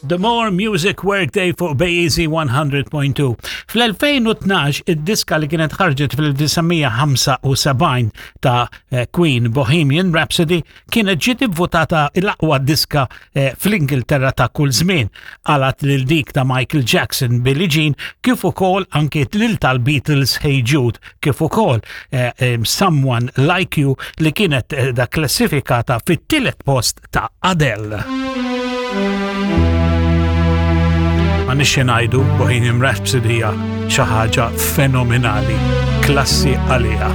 The More Music Workday fuq Bayeasy 100.2. Fl-2012 id-diska li kienet ħarġet fil-1975 ta' eh, Queen Bohemian Rhapsody kienet ġiet ivvutata l-aqwa diska eh, fl-Ingilterra ta' kull żmien għalat lil dik ta' Michael Jackson Billie Jean kif ukoll anke lil tal-Beatles Hey Jude kif ukoll eh, Someone Like You li kienet da klassifikata fit-tielet post ta' Adele. Ma nixxi ngħidu Bohemian Rhapsody hija xi ħaġa fenomenali, klassi għaliha.